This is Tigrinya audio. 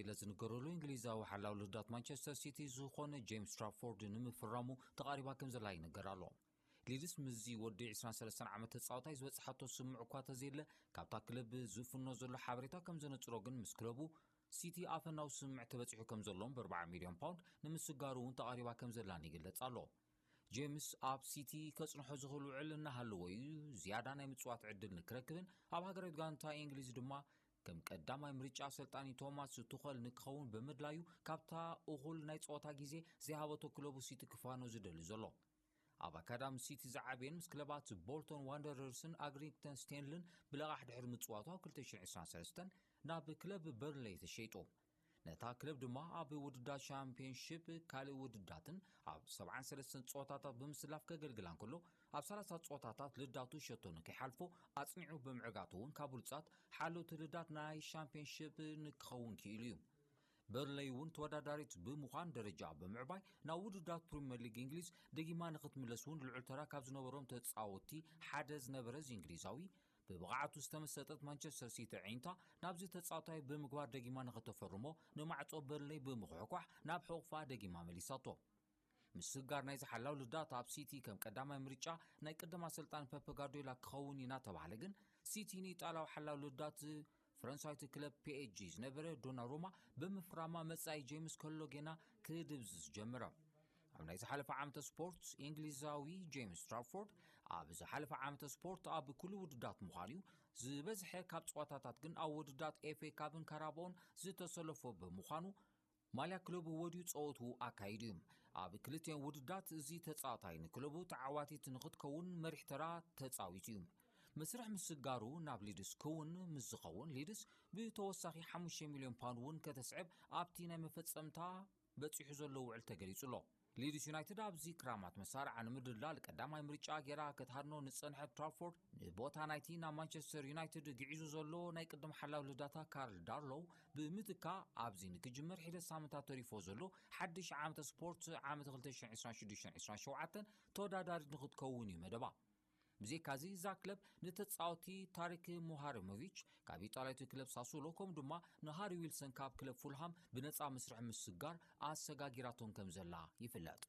ኢለ ዝንገረሉ እንግሊዛዊ ሓላው ልዳት ማንቸስተር ሲቲ ዝኾነ ጄምስ ትራፎርድ ንምፍራሙ ተቓሪባ ከም ዘላ ይንገር ኣሎ። ሊድስ ምስዚ ወዲ ዕስራን ሰለስተን ዓመት ተጻዋታይ ዝበጽሓቶ ስምዕ እኳ ተዘየለ፣ ካብታ ክለብ ዝፍኖ ዘሎ ሓበሬታ ከም ዘነጽሮ ግን፣ ምስ ክለቡ ሲቲ ኣፈናዊ ስምዕ ተበጺሑ ከም ዘሎን ብ ኣርባዓ ሚልዮን ፓውንድ ንምስጋሩ እውን ተቓሪባ ከም ዘላን ይግለጽ ኣሎ። ጄምስ ኣብ ሲቲ ከጽንሖ ዝኽእል ውዕል እናሃለዎ እዩ ዝያዳ ናይ ምጽዋት ዕድል ንክረክብን ኣብ ሃገራዊት ጋንታ እንግሊዝ ድማ ከም ቀዳማይ ምርጫ ኣሰልጣኒ ቶማስ ቱኸል ንክኸውን ብምድላዩ፣ ካብታ እኹል ናይ ጸወታ ግዜ ዘይሃበቶ ክለቡ ሲቲ ክፋኖ ዝደሊ ዘሎ። ኣብ ኣካዳሚ ሲቲ ዝዓበየን ምስ ክለባት ቦልቶን ዋንደረርስን ኣግሪንግተን ስቴንልን ብለቓሕ ድሕሪ ምጽዋቱ፣ ኣብ ክልተ ሽሕን ዕስራን ሰለስተን ናብ ክለብ በርንሌይ ተሸይጡ። ነታ ክለብ ድማ ኣብ ውድዳት ሻምፒዮንሺፕ፣ ካልእ ውድዳትን ኣብ ሰብዓን ሰለስተን ጸወታታት ብምስላፍ ከገልግላ እንከሎ፣ ኣብ ሰላሳ ጸወታታት ልዳቱ ሸቶ ንከይሓልፎ ኣጽኒዑ ብምዕጋቱ እውን ካብ ብሉጻት ሓለውቲ ልዳት ናይ ሻምፒዮንሺፕ ንክኸውን ክኢሉ እዩ። በርንሌይ እውን ተወዳዳሪት ብምዃን ደረጃ ብምዕባይ ናብ ውድዳት ፕሪምየር ሊግ እንግሊዝ ደጊማ ንክትምለስ እውን ልዑል ተራ ካብ ዝነበሮም ተጻወትቲ ሓደ ዝነበረ እዚ እንግሊዛዊ፣ ብብቕዓቱ ዝተመሰጠት ማንቸስተር ሲቲ ኣዒንታ ናብዚ ተጻዋታይ ብምግባር ደጊማ ንክተፈርሞ ንማዕጾ በርንሌይ ብምኹሕኳሕ ናብ ሕቑፋ ደጊማ መሊሳቶ። ምስጋር ናይዚ ሓላው ልዳት ኣብ ሲቲ ከም ቀዳማይ ምርጫ ናይ ቅድም ኣሰልጣኒ ፔፕ ጋርዲዮላ ክኸውን እዩ እናተባህለ ግን፣ ሲቲ ንኢጣልያዊ ሓላው ልዳት ፈረንሳዊት ክለብ ፒ ኤስ ጂ ዝነበረ ዶናሩማ ብምፍራማ መጻኢ ጄምስ ከሎ ጌና ክድብዝዝ ጀመረ። ኣብ ናይ ዝሓለፈ ዓመተ ስፖርት እንግሊዛዊ ጄምስ ትራፎርድ ኣብ ዝሓለፈ ዓመተ ስፖርት ኣብ ኩሉ ውድዳት ምዃኑ እዩ። ዝበዝሐ ካብ ጸዋታታት ግን ኣብ ውድዳት ኤፍ ኤ ካፕን ካራባኦን ዝተሰለፎ ብምዃኑ፣ ማልያ ክለቡ ወድዩ ጸወትኡ ኣካይዱ እዩ። ኣብ ክልቲኦም ውድዳት እዚ ተጻዋታይ ንክለቡ ተዓዋቲት ንክትከውን መሪሕ ተራ ተጻዊቱ እዩ። መስርሕ ምስጋሩ ናብ ሊድስ ክውን ምስ ዝኸውን፣ ሊድስ ብተወሳኺ ሓሙሽተ ሚልዮን ፓውንድ እውን ከተስዕብ ኣብቲ ናይ መፈጸምታ በጺሑ ዘሎ ውዕል ተገሊጹ ኣሎ። ሊድስ ዩናይትድ ኣብዚ ክራማት መሳርዓ ንምድልዳል ቀዳማይ ምርጫ ጌራ ክትሃድኖ ንጸንሐት ትራፎርድ፣ ንቦታ ናይቲ ናብ ማንቸስተር ዩናይትድ ግዒዙ ዘሎ ናይ ቅድም ሓላው ልዳታ ካርል ዳርሎው ብምትካ፣ ኣብዚ ንክጅመር ሒደት ሳምንታት ተሪፎ ዘሎ ሓድሽ ዓመተ ስፖርት ዓመት ክልተ ሽሕን ዕስራን ሽዱሽተን ዕስራን ሸውዓተን ተወዳዳሪት ንክትከውን እዩ መደባ። ብዘይካዚ እዛ ክለብ ንተጻወቲ ታሪክ ሙሃሪሞቪች ካብ ኢጣልያዊት ክለብ ሳሱሎ፣ ከምኡ ድማ ንሃሪ ዊልሰን ካብ ክለብ ፉልሃም ብነጻ መስርሕ ምስጋር ኣሰጋጊራቶም ከም ዘላ ይፍለጥ።